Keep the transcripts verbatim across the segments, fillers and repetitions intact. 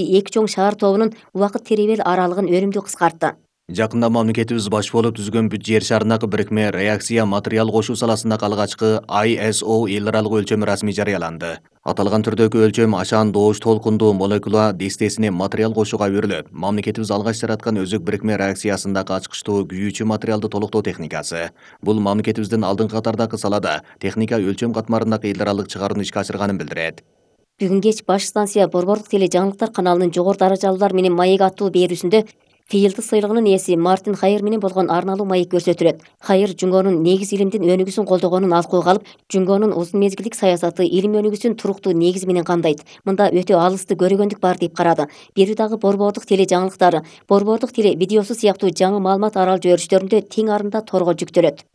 эки чоң шаар тобунун убакыт теребел аралыгын өнүмдүү кыскартты. Жакында мамлекетибиз баш болуп түзгөн бүт жер шарындагы бирикме реакция материал кошуу саласындагы алгачкы I S O эл аралык өлчөмү расмий жарыяланды. Аталган түрдөгү өлчөм ашаан доош толкундуу молекула дестесине материал кошууга берилет. Мамлекетибиз алгач жараткан өзөк бирикме реакциясындагы ачкычтуу күйүүчү материалды толуктоо техникасы. Бул мамлекетибиздин алдыңкы катардагы салада техника өлчөм катмарындагы эл аралык чыгарууну ишке ашырганын билдирет. Бүгүн кеч баш станция Борбордук теле жаңылыктар каналынын жогору даражалуулар менен маек аттуу берүүсүндө Фиелдик сыйлыгынын ээси Мартин Хайер менен болгон арналуу маек көрсөтүлөт. Хайер Жунгонун негиз илимдин өнүгүүсүн колдогонун алкууга алып, Жунгонун узун мезгилдик саясаты илим өнүгүүсүн туруктуу негиз менен камдайт. Мында өтө алысты көрөгөндүк бар деп карады. Бирөө дагы Борбордук теле жаңылыктары, Борбордук теле видеосу сыяктуу жаңы маалымат арал жиберүүчтөрүндө тең арында торго жүктөлөт.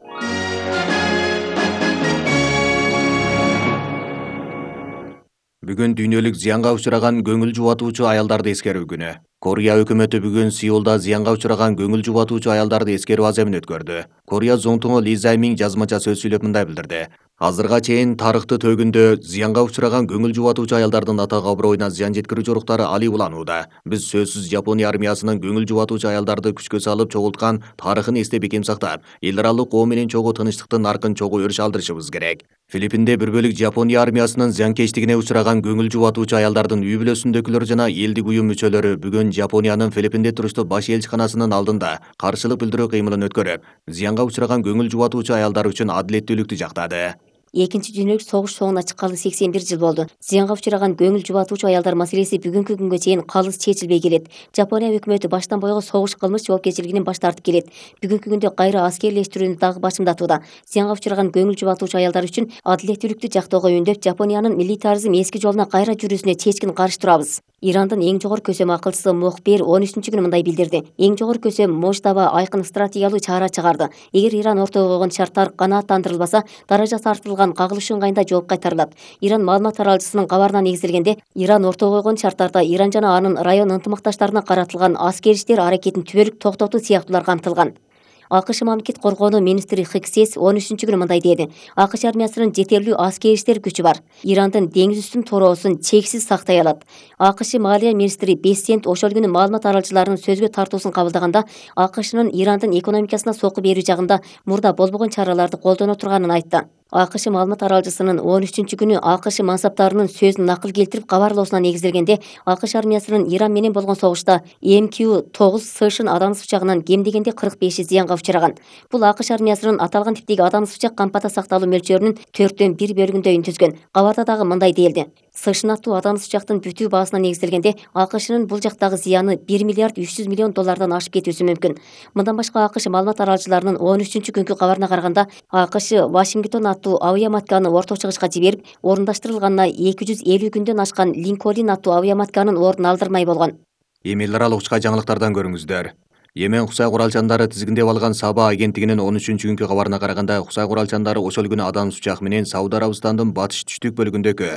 Бүгүн дүйнөлүк зыянга учураган көңүл жубатуучу аялдарды эскерүү күнү. Корея өкмөтү бүгүн Сеулда зыянга учураган көңүл жубатуучу аялдарды эскерүү аземин өткөрдү. Корея зоңтуңу Ли Займин жазмача сөз сүйлөп мындай билдирди. Азырга чейин тарыхты төгүндө зыянга учураган көңүл жубатуучу аялдардын атага аброюна зыян жеткирүү жоруктары али уланууда. Биз сөзсүз Жапония армиясынын көңүл жубатуучу аялдарды күчкө салып чогулткан тарыхын эстеп бекем сактап, эл аралык коо менен чогуу тынчтыктын наркын чогуу өрүш алдырышыбыз керек. Филиппинде бир бөлүк Жапония армиясынын зыянкечтигине учураган көңүл жубатуучу аялдардын үй бүлөсүндөгүлөр жана элдик уюм мүчөлөрү бүгүн Жапониянын Филиппинде туруштуу баш элчиканасынын алдында каршылык билдирүү кыймылын өткөрүп, зыянга учураган көңүл жубатуучу аялдар үчүн адилеттүүлүктү жактады. Экинчи дүйнөлүк согуш соңуна чыккалы сексен бир жыл болду. Зыянга учураган көңүл жубатуучу аялдар маселеси бүгүнкү күнгө чейин калыс чечилбей келет. Жапония өкмөтү баштан бойго согуш кылмыш жоопкерчилигинен баш тартып келет. Бүгүнкү күндө кайра аскерлештирүүнү дагы башымдатууда. Зыянга учураган көңүл жубатуучу аялдар үчүн адилеттүүлүктү жактоого үндөп, Жапониянын милитаризм эски жолуна кайра жүрүүсүнө чечкин каршы турабыз. Ирандын эң жогору көсөм акылчысы Мохбер он үчүнчү күнү мындай билдирди. Эң жогору көсөм Мождаба айкын стратегиялуу чара чыгарды. Эгер Иран ортого койгон шарттар канааттандырылбаса, даража тартылган кагылыш ыңгайында жооп кайтарылат. Иран маалымат таралчысынын кабарына негизделгенде, Иран ортого койгон шарттарда Иран жана анын район ынтымакташтарына каратылган аскер иштер аракетин түбөлүк токтотуу сыяктуулар камтылган. АКШ мамлекет коргоонуу министри Хиксес он үчүнчү күнү мындай деди. АКШ армиясынын жетерлүү аскер иштер күчү бар. Ирандын деңиз үстүн тороосун чексиз сактай алат. АКШ маалия министри Бессент ошол күнү маалымат аралчыларынын сөзгө тартуусун кабылдаганда, АКШнын Ирандын экономикасына сокку берүү жагында мурда болбогон чараларды колдоно турганын айтты. АКШ маалымат аралчысынын он үчүнчү күнү АКШ мансаптарынын сөзүн накыл келтирип кабарлоосуна негизделгенде, АКШ армиясынын Иран менен болгон согушта Эм Q тогуз Сэшн адамсыз учагынан кем дегенде кырк беши зыянга учураган. Бул АКШ армиясынын аталган типтеги адамсыз учак кампата сакталуу мөлчөрүнүн төрттөн бир бөлүгүндө үнтүзгөн. Кабарда дагы мындай деилди. Сэшн аттуу адамсыз учактын бүтүү баасына негизделгенде, АКШнын бул жактагы зыяны бир миллиард үч жүз миллион доллардан ашып кетүүсү мүмкүн. Мындан башка АКШ маалымат аралчыларынын он үчүнчү күнкү кабарына караганда, АКШ Вашингтон аттуу авиаматканы орто чыгышка жиберип, орундаштырылганына эки жүз элүү күндөн ашкан Линкольн аттуу авиаматканын ордун алдырмай болгон. Эми эл аралык учка жаңылыктардан көрүңүздөр. Йемен кусай куралчандары тизгиндеп алган Саба агенттигинин он үчүнчү күнкү кабарына караганда, кусай куралчандары ошол күнү адамсыз учак менен Сауд Арабистандын батыш түштүк бөлүгүндөгү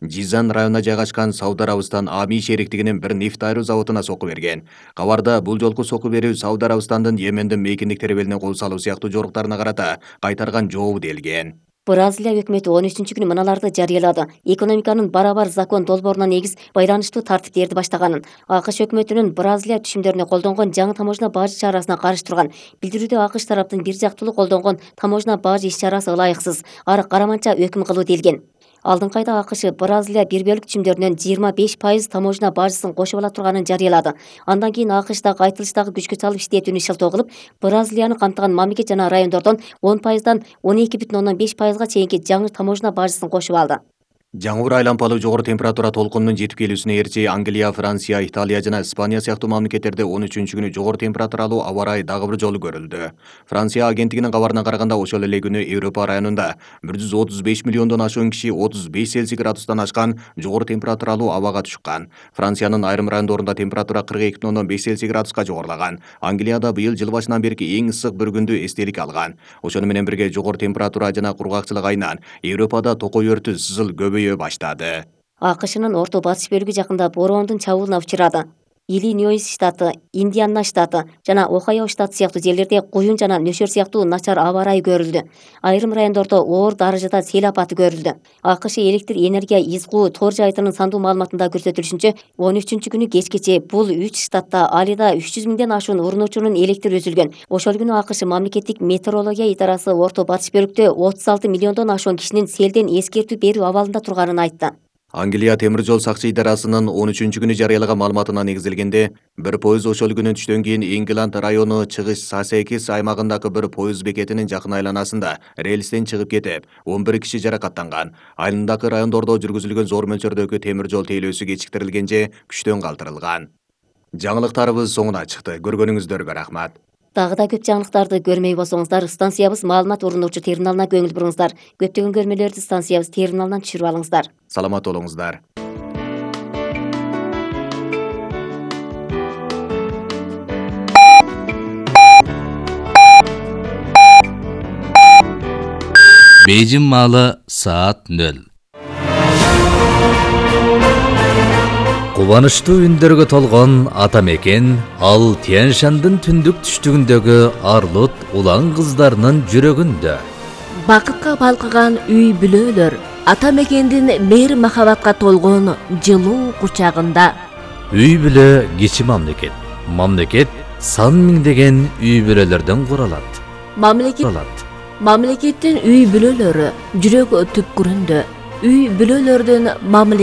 Жизан районуна жайгашкан Сауд Арабистан Ами шериктигинин бир нефть айыруу заводуна сокку берген. Кабарда бул жолку сокку берүү Сауд Арабистандын Йемендин мейкиндик теребелине кол салуу сыяктуу жоруктарына карата кайтарган жообу делген. Бразилия өкмөтү он үчүнчү күнү мыналарды жарыялады. Экономиканын барабар закон долбооруна негиз байланыштуу тартиптерди баштаганын. АКШ өкмөтүнүн Бразилия түшүмдөрүнө колдонгон жаңы таможня бажы чарасына каршы турган. Билдирүүдө АКШ тараптын бир жактылуу колдонгон таможня бажы иш чарасы ылайыксыз, ары караманча өкүм кылуу делген. Алдыңкы айда АКШ Бразилия бир бөлүк түшүмдөрүнөн жыйырма беш пайыз таможня бажысын кошуп ала турганын жарыялады. Андан кийин АКШдагы айтылыштагы күчкө салып иштетүүнү шылтоо кылып, Бразилияны камтыган мамлекет жана райондордон он пайыздан он эки бүтүн ондон беш пайызга чейинки жаңы таможня бажысын кошуп алды. Жаңы айлампалуу жогору температура толкунунун жетип келүүсүнө ээрчи Англия, Франция, Италия жана Испания сыяктуу мамлекеттерде он үчүнчү күнү жогору температуралуу аба ырайы дагы бир жолу көрүлдү. Франция агенттигинин кабарына караганда, ошол эле күнү Европа районунда бир жүз отуз беш миллиондон ашуун киши отуз беш Цельсий градустан ашкан жогору температуралуу абага түшкөн. Франциянын айрым райондорунда температура кырк эки бүтүн ондон беш Цельсий градуска жогорулаган. Англияда быйыл жыл башынан берки эң ысык бір күндү эстелик алган. Ошону менен бирге жогору температура жана кургакчылык айынан Европада токой өртү сызыл көбөйө баштады. АКШнын орто батыш бөлүгү жакында бороондун чабуулуна учурады. Иллинойс штаты, Индиана штаты жана Охайо штаты сыяктуу жерлерде куюн жана нөшөр сыяктуу начар аба ырайы көрүлдү. Айрым райондордо оор даражада сел апаты көрүлдү. АКШ электр энергия изгуу тор жайытынын сандуу маалыматында көрсөтүлүшүнчө, он үчүнчү күнү кечкече бул үч штатта алида үч жүз миңден ашуун урунуучунун электр үзүлгөн. Ошол күнү АКШ мамлекеттик метеорология идарасы орто батыш бөлүктө отуз алты миллиондон ашуун кишинин селден эскертүү берүү абалында турганын айтты. Англия темир жол сакчы идарасынын он үчүнчү күнү жарыялаган маалыматына негизделгенде, бир поезд ошол күнү түштөн кийин Ингланд району чыгыш Сасекис аймагындагы бир поезд бекетинин жакын айланасында рельстен чыгып кетип, он бир киши жаракаттанган. Айылындагы райондордо жүргүзүлгөн зор мөлчөрдөгү темир жол тейлөөсү кечиктирилген же күчтөн калтырылган. Жаңылыктарыбыз соңуна чыкты. Көргөнүңүздөргө рахмат. Дагы да көп жаңылыктарды көрмөй болсоңуздар, станциябыз маалымат урунуучу терминалына көңүл буруңуздар. Көптөгөн көрмөлөрдү станциябыз терминалынан түшүрүп алыңыздар. Саламат болуңуздар. Бейжин маалы саат нөл. Кубанычтуу үндөргө толгон ата мекен ал Тянь-Шандын түндүк түштүгүндөгү арлут улан кыздарынын жүрөгүндө. Бакытка балкыган үй бүлөлөр ата мекендин мейир махабатка толгон жылуу кучагында. Үй бүлө кичи мамлекет. Мамлекет сан миңдеген үй бүлөлөрдөн куралат. Мамлекет Мамлекеттин үй бүлөлөрү жүрөк түпкүрүндө. Үй бүлөлөрдүн мамлекет